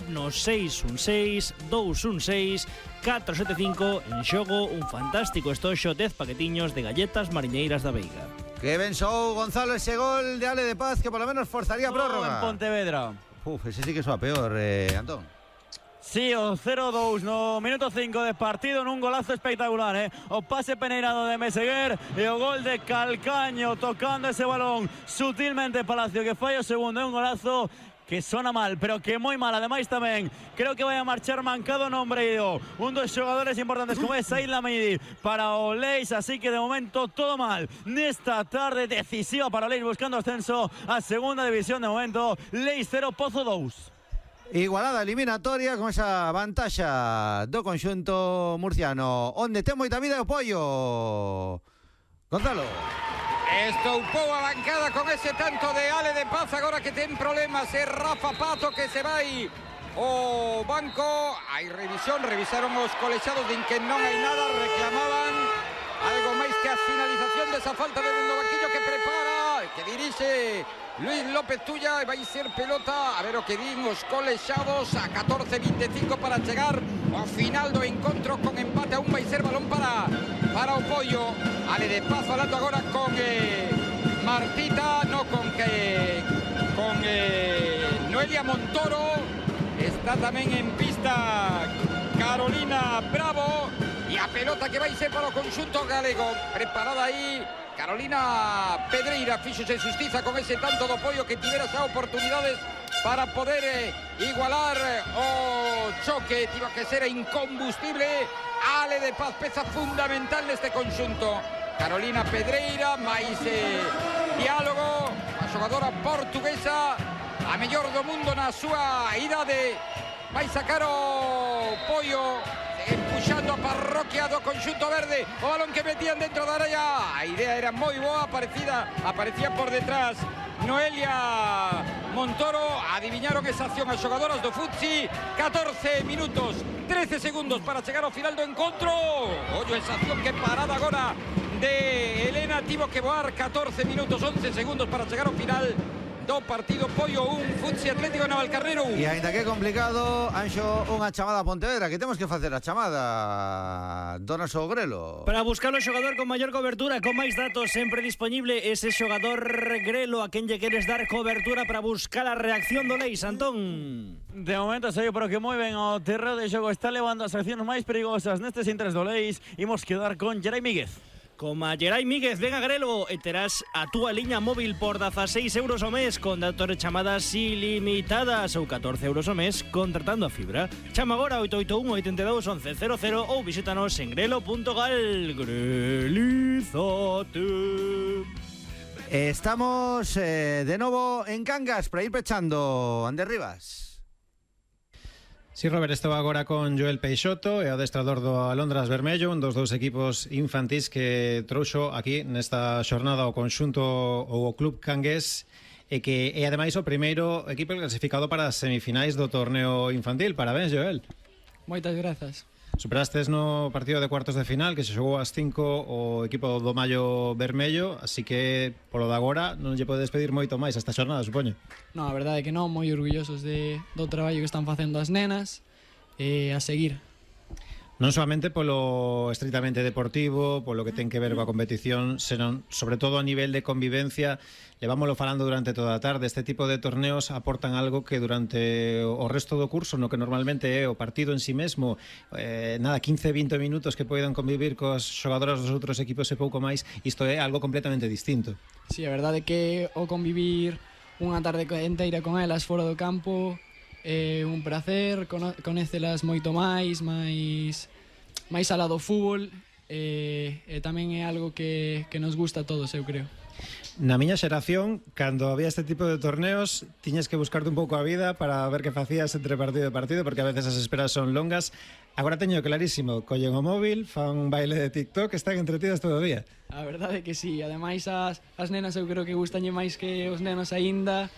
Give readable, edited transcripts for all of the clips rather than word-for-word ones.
no 616-216-475. En xogo un fantástico estoxo 10 paquetiños de galletas mariñeiras da Veiga. Que ben sou, Gonzalo, ese gol de Ale de Paz que por lo menos forzaría prórroga. En Pontevedra. Ese sí que soa peor, Antón. Sí, o 0-2 no minuto 5 de partido nun golazo espectacular, o pase peneirado de Meseguer e o gol de Calcaño tocando ese balón sutilmente Palacio que falla o segundo, é un golazo que sona mal, pero que moi mal. Ademais tamén creo que vai a marchar mancado no ombreiro un dos xogadores importantes como é Said Lamidi para o Leis, así que de momento todo mal nesta tarde decisiva para o Leis buscando ascenso a segunda división. De momento Leis 0, Pozo 2. Igualada eliminatoria con esa vantaxa do conxunto murciano, onde ten moita vida o Pollo. Gonzalo. Estoupou a bancada con ese tanto de Ale de Paz. Agora que ten problemas é Rafa Pato que se vai o banco. Hai revisión, revisaron os colexados din que non hai nada, reclamaban algo máis que a finalización desa falta de dentro do banquillo que prepara, que dirixe Luis López Tulla, e vai ser pelota. A ver o que din os colexados a 14:25 para chegar ao final do encontro con empate. Aún vai ser balón para o Pollo. Ale de Paz falando agora con Martita, no con Noelia Montoro. Está tamén en pista Carolina Bravo e a pelota que vai ser para o conxunto galego. Preparada aí Carolina Pedreira, fíxose xustiza con ese tanto do Pollo que tivera xa oportunidades para poder igualar o choque. Tivo que ser incombustible. Ale de Paz, peza fundamental neste conxunto. Carolina Pedreira, máis diálogo, a xogadora portuguesa, a mellor do mundo na súa idade. Vai sacar o Pollo, empuxando a parroquia do conxunto verde. O balón que metían dentro da área, a idea era moi boa, aparecía por detrás Noelia Montoro. Adiviñaron esa acción as xogadoras do Futsi. 14 minutos 13 segundos para chegar ao final do encontro. Ollo esa acción, que parada agora de Elena. Tivo que voar 14 minutos 11 segundos para chegar ao final do partido. Pollo 1, Futsi Atlético Navalcarnero 1. E aínda que é complicado, Anxo, unha chamada a Pontevedra, que temos que facer a chamada do noso Grelo. Para buscar o xogador con maior cobertura, con máis datos, sempre disponible ese xogador Grelo a quen lle queres dar cobertura para buscar a reacción do Leis, Antón. De momento sei, pero que moi ben o terreo de xogo está levando as accións máis perigosas nestes intres do Leis. Imos quedar con Gerai Míguez. Como a Gerai Míguez, ven a Grelo e terás a túa liña móvil por 16 euros ao mes con datos de chamadas ilimitadas ou 14 euros ao mes contratando a fibra. Chama agora 881 82 11 00 ou visítanos en grelo.gal. Grelizate. Estamos de novo en Cangas para ir pechando. Ander Rivas. Sí, Robert, estaba agora con Joel Peixoto, e adestrador do Alondras Vermello, un dos dous equipos infantís que trouxo aquí nesta xornada o conxunto ou o club cangués, e que é ademais o primeiro equipo clasificado para as semifinais do torneo infantil. Parabéns, Joel. Moitas grazas. Superastes no partido de cuartos de final que se xogou ás 5 o equipo do Mallo Vermello, así que polo de agora non lle podes pedir moito máis esta xornada, supoño. Non, a verdade é que non, moi orgullosos do traballo que están facendo as nenas e a seguir. Non solamente polo estritamente deportivo, polo que ten que ver coa competición, senón sobre todo a nivel de convivencia. Levámoslo falando durante toda a tarde. Este tipo de torneos aportan algo que durante o resto do curso, no que normalmente é o partido en si mesmo, 15-20 minutos que poidan convivir coas xogadoras dos outros equipos e pouco máis, isto é algo completamente distinto. Sí, a verdade é que o convivir unha tarde enteira con elas fora do campo é un placer, conécelas moito máis alá do fútbol, e tamén é algo que nos gusta a todos, eu creo. Na miña xeración, cando había este tipo de torneos, tiñas que buscarte un pouco a vida para ver que facías entre partido e partido, porque a veces as esperas son longas. Agora teño clarísimo, collen o móvil, fan un baile de TikTok, están entretidas todo o día. A verdade é que sí, ademais as nenas eu creo que gustañe máis que os nenos aínda,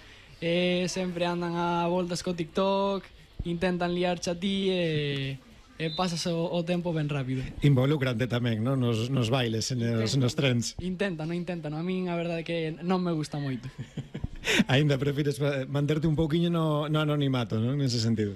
sempre andan a voltas co TikTok, intentan liarche a ti e pasas o tempo ben rápido. Involúcrante tamén, non? Nos bailes, nos trens. Intentan. A min a verdade é que non me gusta moito. Ainda prefires manterte un pouquiño no anonimato, non? Nese sentido.